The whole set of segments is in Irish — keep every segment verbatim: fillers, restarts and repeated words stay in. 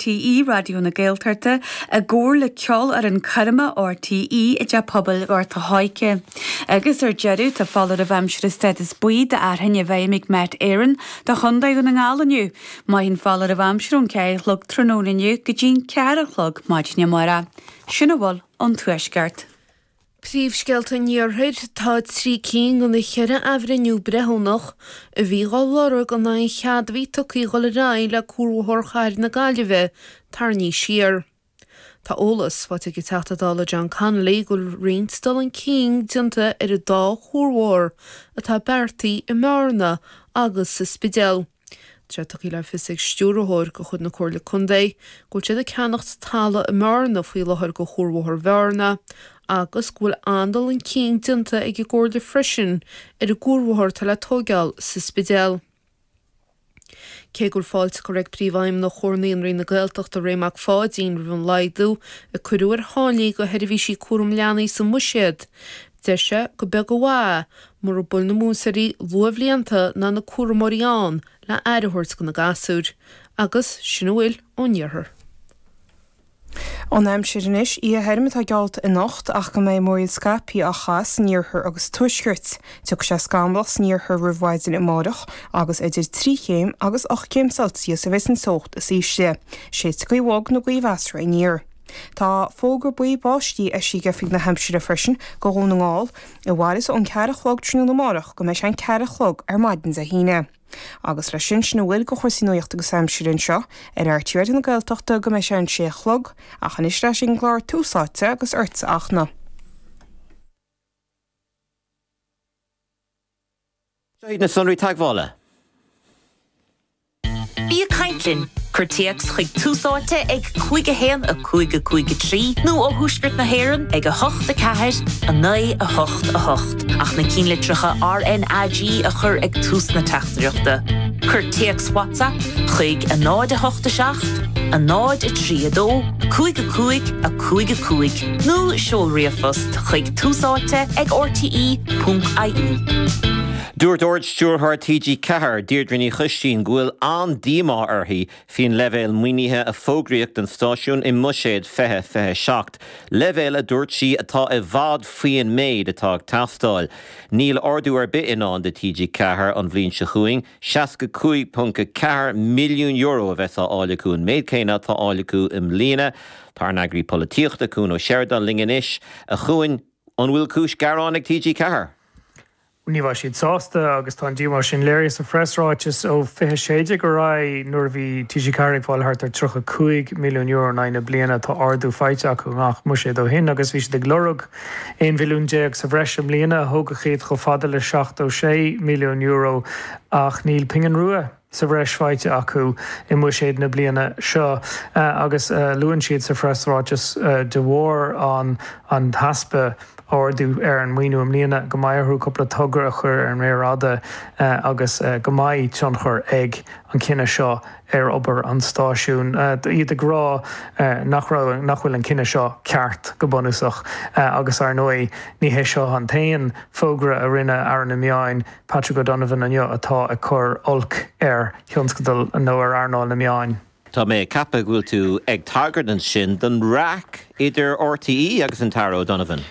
RTÉ Raidió na Gaeltachta i gcomhar le Ceolfhoireann Coirme RTÉ i dTeach Pobail Ghort a' Choirce. Agus ar deireadh tá foláireamh aimsire stádas buí d'fhearthainn i bhfeidhm ag Met Éireann do Chontae Dhún na nGall inniu. Mairfidh an foláireamh aimsire ón ceathair a chlog tráthnóna inniu go dtí an ceathair a chlog maidin amárach. Sin a bhfuil ón tuaisceart. Príomhscéalta an iarthair tá trí cinn de na ceithre athbhreithniú breithiúnach a bhí á lorg in aghaidh an chead a bhí tugtha dul ar aghaidh le cuarbhóthar chathair na Gaillimhe tarraingthe siar. Tá eolas faighte ag an Teachta Dála John Connolly go bhfuil roinnt dul chun cinn déanta ar an dá chuarbhóthar atá beartaithe i mBearna agus sa Spidéal. Tá tugtha le fios ag stiúrthóir de chuid na Comhairle Contae go bhfuil siad ag ceannacht talamh i mBearna faoi láthair do chuarbhóthar Bhearna agus go bhfuil an-dul chun cinn déanta ag an gComhairle freisin ar an gcuarbhóthar atá le tógáil sa Spidéal. Cé go bhfuil fáilte curtha ag Príomhfheidhmeannach Chomhar Naíonraí na Gaeltachta Ray Mac Pháidín roimh an laghdú a cuireadh ar tháillí do sheirbhísí cúram leanaí sa mbuiséad, deir sé gur beag an mhaith mura bhfuil na múinteoirí luathbhlianta ná na cúramóirí ann le aire a thabhairt do na gasúir, agus sin a bhfuil ón iarthar. An aimsir anois oíche thirim atá geallta anocht ach go mbeidh múraíl scaipthe á chaitheamh san iarthar agus tuaisceart. Tiocfaidh sé scamallach san iarthar roimh mhaidin amárach agus idir trí chéim agus ocht gcéim Celsius a bheidh an teocht is ísle. Séidfidh gaoth bhog nó gaoth mheasartha aniar. Tá fógra buí báistí eisithe ag Oifig na hAimsire freisin do Dhún na nGall a mhairfeas ón ceathair a chlog tráthnóna amárach go mbeidh sé an ceathair a chlog ar maidin Dé hAoine. Agus leis sin sin a bhfuil de chúrsaí nuachta agus aimsire anseo ar RTÉ Raidió na Gaeltachta go mbeidh sé an sé a chlog ach anois leis an gclár Tús Áite agus ortsa a Fhachtna. Seo iad na sonraí teagmhála. Bí ag caint linn, cuir téacs chuig Tús Áite ag cúig a haon a cúig a cúig a trí nó ó thuaisceart na hÉireann ag a hocht a ceathair a naoi a hocht a hocht ach na cinnlitreacha RNAG a chur ag tús na teachtaireachta. Cuir téacs WhatsApp chuig a náid a hocht a seacht, a náid a trí a dó, cúig a cúig a cúig a cúig nó seol ríomhphost chuig túsáite ag RTE ponc IE. Dúirt Ard-Stiúrthóir TG Ceathair Deirdre Ní Choistín go bhfuil an-díomá uirthi faoin leibhéal maoinithe a fógraíodh don stáisiún i mbuiséad fiche fiche seacht, leibhéal a dúirt sí atá i bhfad faoin méid atá ag teastáil. Níl ardú ar bith i ndán do TG Ceathair an bhliain seo chugainn, seasca cúig ponc a ceathair milliún euro a bheas á fháil acu an méid céanna atá á fháil acu i mbliana. Tá ár n-eagraí polaitíochta Cuan Ó Seireadáin linn anois a Chuain an bhfuil cúis gearáin ag TG Ceathair. Ní bheidh siad sásta agus tá an díomá sin léirithe sa phreasráiteas ó fiche sé déag ar aghaidh nuair a bhí TG Ceathair ag fáil thart ar tríocha cúig milliún euro in aghaidh na bliana tá ardú faighte acu i ngach mbuiséad ó shin agus bhí siad ag lorg aon mhilliún déag sa bhreis i mbliana a thógfadh iad chomh fada le seachtó sé milliún euro ach níl pingin rua sa bhreis faighte acu i mbuiséad na bliana seo agus luann siad sa phreasráiteas de bharr an an t-easpa ardú ar an maoiniú i mbliana go mbeidh orthu cúpla togra a chur ar an méar fhada agus go mbeidh tionchar ag an cinneadh seo ar obair an stáisiúin. Iad ag rá nach raibh nach bhfuil an cinneadh seo ceart go bunúsach agus ar ndóigh ní hé seo an t-aon fógra a rinne Aire na Meán Patrick O'Donovan inniu atá ag cur olc ar thionscadal nó ar earnáil na meán. Tá mé ag ceapadh go bhfuil tú ag tagairt ansin don raic idir RTÉ agus an tAire O'Donovan.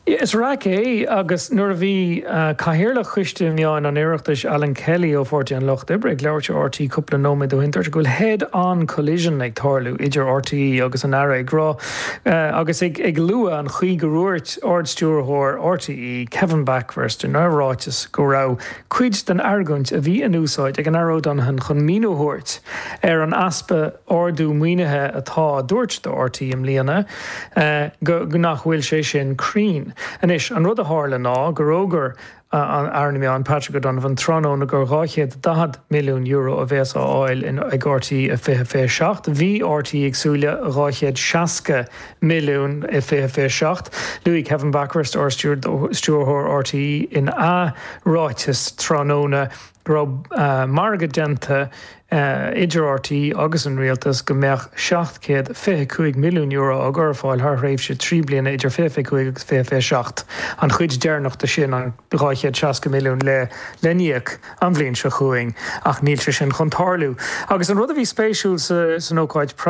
Is raic é agus nuair a bhí Cathaoirleach Choiste Meán an Oireachtais Alan Kelly ó Pháirtí an Lucht Oibre ag labhairt ar RTÉ cúpla nóiméad ó shin dúirt go bhfuil head-on collision ag tarlú idir RTÉ agus an Aire ag rá agus ag ag lua an chaoi gur dhúirt Ard-Stiúrthóir RTÉ Kevin Bakhurst ina ráiteas go raibh cuid den argóint a bhí in úsáid ag an Aire O'Donovan chun míniú a thabhairt ar an easpa ardú maoinithe atá dúirt do RTÉ i mbliana go nach bhfuil sé sin cruinn. Anois an rud a tharla ná gur fhógair an Aire na Meán Patrick O'Donovan tráthnóna gur dhá chéad daichead milliún euro a bheas á fháil ag RTÉ i fiche fiche seacht. Bhí RTÉ ag súil le dhá chéad seasca milliún i fiche fiche seacht. Luaigh Kevin Bakhurst Ard-Stiúrthóir RTÉ ina ráiteas tráthnóna go raibh margadh déanta idir RTÉ agus an rialtas go mbeadh seacht chéad fiche cúig milliún euro á gcur ar fáil thar thréimhse trí bliana idir fiche fiche cúig agus fiche fiche seacht. An chuid deireanach de sin an dhá chéad seasca milliún le le n-íoc an bhliain seo chugainn ach níl sé sin chun tarlú. Agus an rud a bhí spéisiúil sa san ócáid preasa